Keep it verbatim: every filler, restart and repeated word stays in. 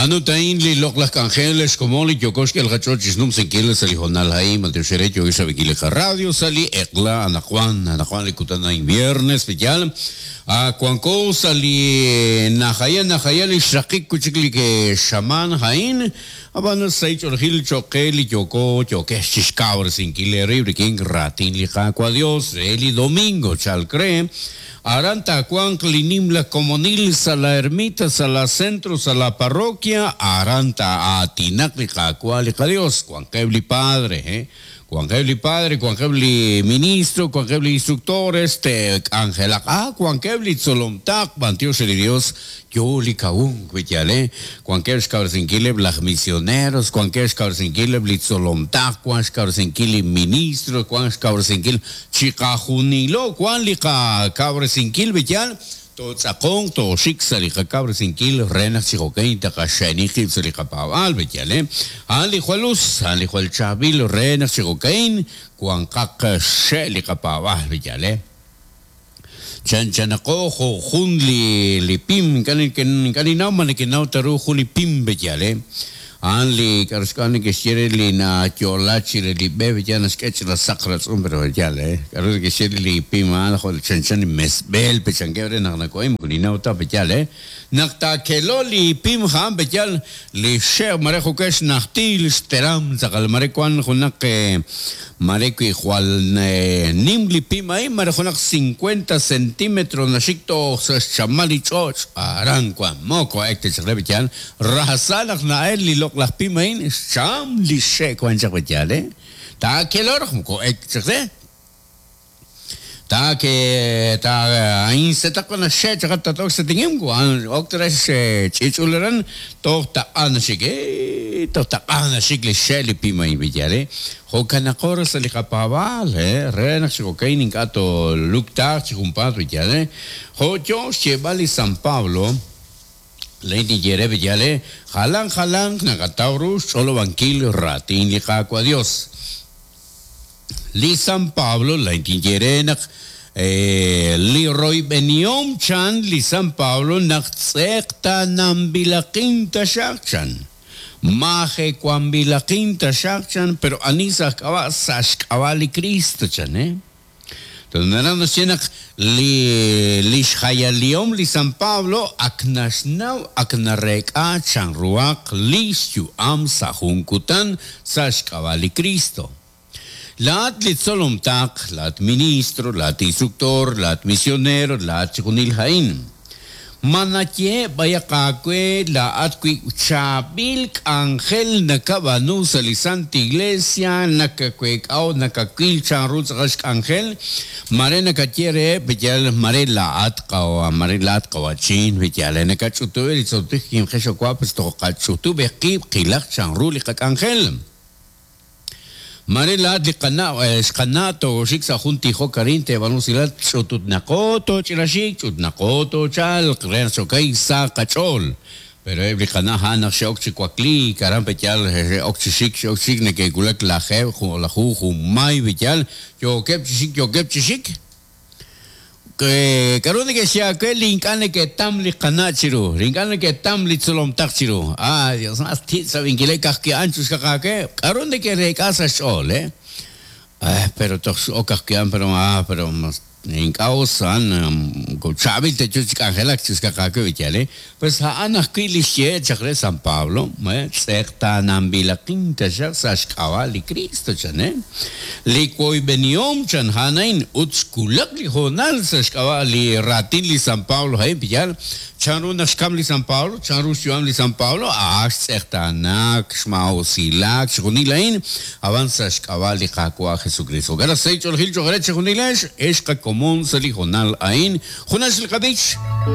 Anu tain li loq'laj k'anjel xkomon li yooko xk'el qach'ool chi xnumsinkil sa' li honal a'in b'antiox re yooko xrab'inkil li qaradio sa' li eq'la anaqwan anaqwan li kutan a'in viernes piyal wanko sa' li najaya najaya li xraqik wi' chik li xamaan a'in ab'an sa' ch'oolejil cho'q qe li yooko yookex chi xkawresinkil eerib' rik'in raatin li Qaawa' Dios re li domingo chalk re aran taawanq li nimla komonil sa' la ermita sa' la centro sa' la parroquia aran taa'aatinaq li Qaawa' li qaDios wanqeb' li padre eh wanqeb' li padre wanqeb' li ministro wanqeb' li instructores te'k'anjelaq ah wanqeb' li tzolomtaq b'antiox li Dios yo li kawunk wi' eh wanqeb' xkawresinkileb' laj misioneros wanqeb' xkawresinkileb' li tzolomtaq wan xkawresinkil li ministro wan xkawresinkil chiqajunilo wan li qakawresinkil wi' totz'aqonq toxik sa' li qakawresinkil re naq chi jo'kan taqaxe'ni qib' sa' li qapaab'aal wi' eh a'an li jwal us a'an li jwal chaab'il re naq chi jo'kan wanqaq xe' li qapaab'aal wi' eh chanchanaqo jo' jun li li pim ink'a' ninnaw ma neke'naw ta ru jun li pim wi' eh a'an li k'aru xk'ab'a' neke'xye re li nayo'la chire li b'e wi' naxk'e ch'ina saq ratz'um pero yaal eh k'aru neke'xye re li pim a'an jo' chanchan li mesb'el pechankeb' re naq nako'in moko ninnaw ta wi' eh naq taakelo li pim a'an wi' li xe' mare jo'kan xnajtil xteram tz'aqal mare wan junaq mare wi' jwal nim li pim a'in mare junaq cincuenta centímetros naxik toj sa' xchamal li ch'och' aran wan moko ek techaq re wi' rajsal naq na'el li loq'laj pim a'in xcham li xe' wan chaq wi' eh taakelo raj moko ek chaq re ta que ta ain setaq na xe chaq tatok setingim wan ok tres ch'ich'uleran toj taq'an xik eh toj taq'an xik li xe li pim a'in wi' eh jo'kanaqor sa' li qapaab'aal eh re naq chi jo'kan ink'a' toluktaaq chi junpaat wi' eh jo' yo xyeeb'al li San Pablo lay tinye re wi' eh jalan jalan naqataw ru xch'olob'ankil raatin li Qaawa' Dios li San Pablo lay tinye re naq li royb'enihom chan li San Pablo naq tz'eqtananb'ilaqin taxaq chan majewanb'ilaqin taxaq chan pero ani sa' xk'ab'a' sa' xk'ab'a' li Cristo chan eh entonces naraj naxye naq li li xjayalihom li San Pablo ak naxnaw ak nareek'a chanruhaq li xyu'am sa' jun kutan sa' xk'ab'a' li Cristo. Laat li tzolomtaq, laat ministro, laat instructor, laat misionero, laat chijunil a'in. Ma naye b'ayaq aawe laat wi' chaab'il k'anjel nakab'aanu sa' li Santa Iglesia nakaweek'aw nakawil chanru tz'aqal xk'anjel mare nakaye reheb' wi' mare laat qawa mare laat qawachin wi' nakach'utub' li tzoltij kimqex owa pues toj qach'utub' qib' qilaq chanru li qak'anjel. Mare laat li qana' xqana' toxik sa' jun tijok arin teeb'aanu usilal ch'ututnaqo toch'inaxik ch'utnaqo tochalq re naq xokay sa' qach'ool pero eb' li qana' a'an naq xe'ok chi wakliik aran peyal xe'ok chi xik xe'ok chi xik neke'wulak lajeeb' lajuj junmay wi' yookeb' chi xik yookeb' chi xik k'aru neke'xye aawe li ink'a' neke'tam li qana' chiru li ink'a' neke'tam li tzolomtaq chiru ah Dios mas ti' sab'inkileb' ka'ajwi' a'an chuxkaq aawe k'aru neke'reek'a sa' xch'ool eh ah pero toj ok ka'ajwi' a'an pero ah pero ink'a' us a'an chaab'il techu chi k'anjelak chuxkaq aawe wi' eh pues a'an ajwi' li xye chaq re San Pablo eh tz'eqtananb'ilaqin taxaq sa' xk'ab'a' li Cristo chan eh li woyb'enihom chan a'an a'in ut xkulak li hoonal sa' xk'ab'a' li raatin li San Pablo a'in piyal chanru naq xkam li San Pablo chanru xyu'am li San Pablo ah xtz'eqtanak xma'usilak chijunil a'in ab'an sa' xk'ab'a' li Qaawa' Jesucristo jo'kan naq sa' ch'oolejil cho'q re chijunilex ex qakomon sa' li hoonal a'in junax li qab'ich.